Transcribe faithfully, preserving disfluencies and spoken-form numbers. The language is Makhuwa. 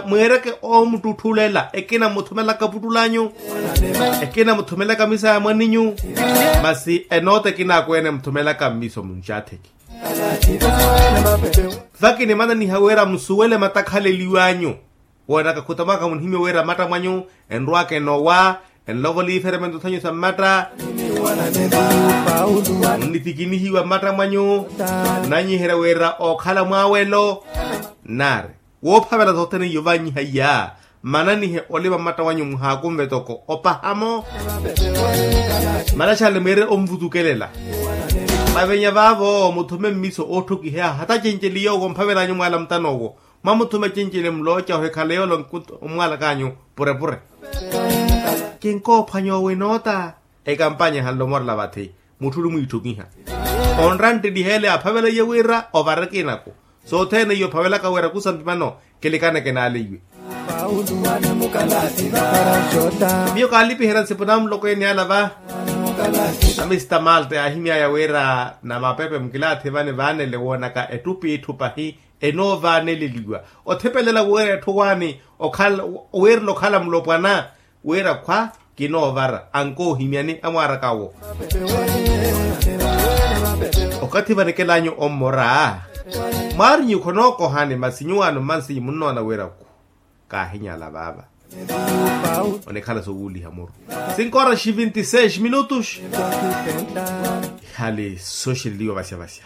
Mweereke oomuttutthulela ekina muthumelaka puttulanyu, ekina muthumelaka misa ya mwaninyu. Masi enoota ekina akweene muthumelaka mmiso munxaatheki. Vakinimananiha wira musuwele matakhaleliwanyu. Woonaka khutamaaka munihimye wira matta mwanyu enrwaka enowa, enlovo liiferemento thanyu sa mmatta. Onnithikinihiwa mmatta mwanyu, nnanyiherya wira ookhala mwaawelo. Nnaari woophavela sothene iyo vaanyiha iya. Mmananihe olima mmatta wanyu muhaakunve toko opahamo. Malaxale mwiire onvutukelela. Mavenya vaavo muthume mmiso ootthokiheya hata cenceli yoowo mphavel'anyu mwaala mutano owo. Mwamuthume cenceli mulooca ohikhala yoole omwaalak'anyu purepure. Kinkoophwanya owo enoota. Ekampanya ehanle omorela vathi. Mutthu ori mwiitthokiha onra ntteliheele aphavelaiye wira ovareke inaku. Sothene iyo ophavelaka wira kusampimano kilikane kinaleiwe. Miyo kaalipiherya nsipu na muloko ene ala va. Amista malte yaahimyaya wira na mapepe mukilaathi vane vaanele woonaka ettupittu pahi. Enoovaaneleliwa othipelela wira etthu waani okhala. Wiirela okhala mulopwana. Wira khwa kinoovara ankoohimyani amwaaraka awo. Okathi vanekel'anyu ommora. Mwaarinyu khonookohani masi nyuwaano mmansinyi munnoona wira khu. Kaahinyala vaava. Onikhala sowuuliha muru. Cinco horas e vinte e seis minutos. Ihali soxeleliwa vasyavasya.